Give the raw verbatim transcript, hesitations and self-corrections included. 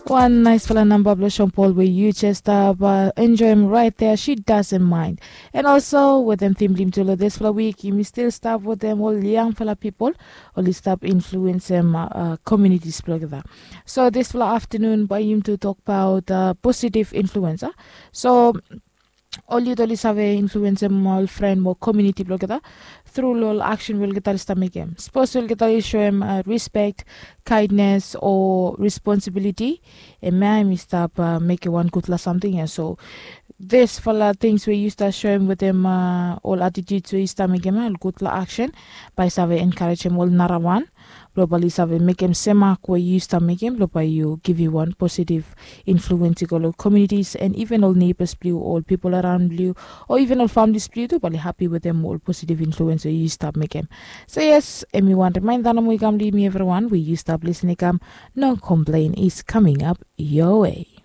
Wan naisfala namba blong Sean Paul we yu jes stap enjoim rait dea, She Doesn't Mind. And also wetem tim blong yumi tu long dispela wik, yumi stil stap wetem ol yangfala pipol oli stap influensim komunitis blong olgeta. So dispela aftanun bai yumi tu tokbaot positiv influensa. So ol yut oli save influensim ol fren mo komuniti blong olgeta tru long ol aksen we olgeta oli stap mekim. Sapos olgeta oli soem rispek, kaindnes o responsibiliti, em ya em i stap mekim wan gutpela samting ya. So dispela tings we yu stap soem wetem ol atitut we yu stap mekim ya, ol gutpela aksen, bai i save enkarejem ol narawan blong bai oli save mekim sem mak we yu stap mekim blong bai yu givim wan positiv influens i go long komunitis and iven ol neibas blong yu, ol pipol araun blong yu, o iven ol familis blong yu tu bai oli hapi wetem ol positiv influens we yu stap mekim. So yes, em i wan rimainda nomo i kam long yumi evriwan we yu stap lisin i kam. No komplein is kaming ap yowe.